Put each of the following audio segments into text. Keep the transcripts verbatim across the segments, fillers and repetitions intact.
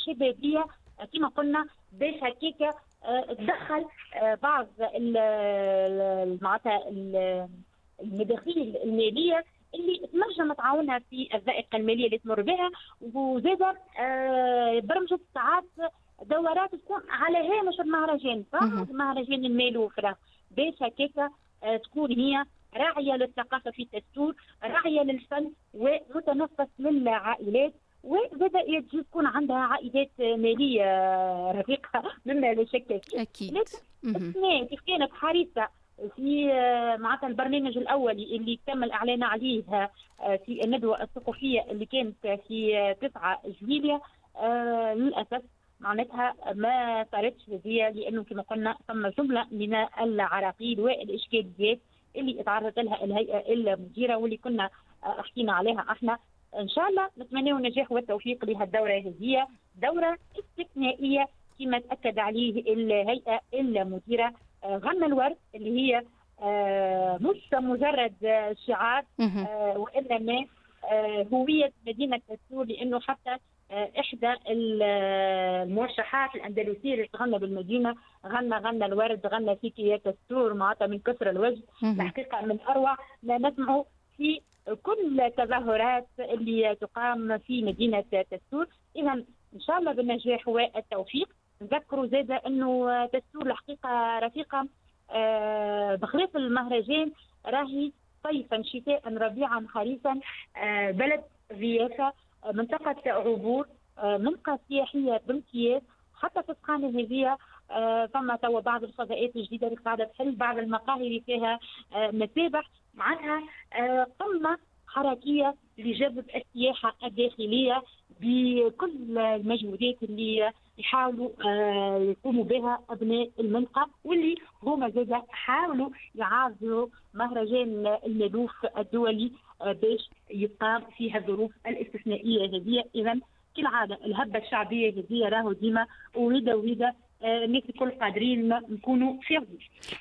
شبابية كما قلنا باش هكاك تدخل بعض معناتها المداخيل المالية اللي تنجم تعاونها في الضائقه المالية اللي تمر بها. وزاده برمجت ساعات دورات تكون على هامش المهرجان بعد مهرجان المالوف باش هكاك تكون هي راعيه للثقافة في تستور، راعيه للفن ومتنفس للعائلات، وزاد يجي تكون عندها عائدات ماليه رفيقه مما لا شك فيه. اكيد. لكن كيف كانت حريصة في معناتها البرنامج الاولي اللي تم الاعلان عليه في الندوة الثقافية اللي كانت في تسعة جويلية، للاسف معناتها ما صارتش هذه، لانه كما قلنا ثم جملة من العراقيل والاشكاليات اللي تعرضت لها الهيئة المديرة واللي كنا حكينا عليها احنا. ان شاء الله نتمنى النجاح والتوفيق لهالدوره هذه، دوره استثنائية كما تاكد عليه الهيئة المديرة. غنى الورد اللي هي مش مجرد شعار وانما هوية مدينة تستور، لانه حتى احدى المرشحات الاندلسيه اللي تغنى بالمدينة غنى غنى الورد غنى فيك يا تستور، معناتها من كثر الوجد. الحقيقة من اروع ما نسمعه في كل التظاهرات اللي تقام في مدينة تستور. اذا ان شاء الله بالنجاح والتوفيق. نذكروا زاده انه تستور الحقيقة رفيقه بخلاف المهرجان راهي صيفا شتاء ربيعا خريفا بلد ضيافة، منطقة عبور، منطقة سياحية بامتياز. حتى في السخانة هذه فما توا بعض الفضاءات الجديدة اللي قاعدة تحل، بعض المقاهي اللي فيها مسابح، معناها قمة حركية لجذب السياحة الداخلية بكل المجهودات اللي يحاولوا يقوموا بها أبناء المنطقة، واللي هما زادا حاولوا يعارضوا مهرجان المالوف الدولي باش يقام في هالظروف الاستثنائية هذه. إذا كالعادة الهبة الشعبية هذه راهو ديما ويدا ويدا الناس الكل قادرين نكونوا في.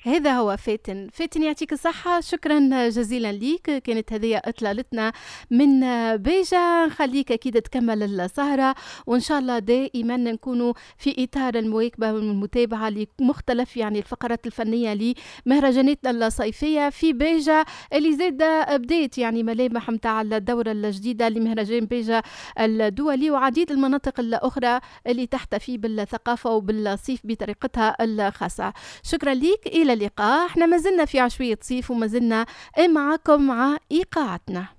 هذا هو فاتن. فاتن يعطيك الصحة، شكرا جزيلا ليك. كانت هذه إطلالتنا من بيجا. نخليك أكيد تكمل السهرة، وإن شاء الله دائما نكونوا في إطار المواكبة والمتابعة لمختلف يعني الفقرات الفنية لمهرجاناتنا الصيفية في بيجا اللي زاد بديت يعني ملامح متاع الدورة الجديدة لمهرجان بيجا الدولي وعديد المناطق الأخرى اللي تحتفي بالثقافة وبالصيف بطريقتها الخاصة. شكرا ليك، إلى اللقاء. احنا ما زلنا في عشوية صيف وما زلنا معكم مع إيقاعتنا.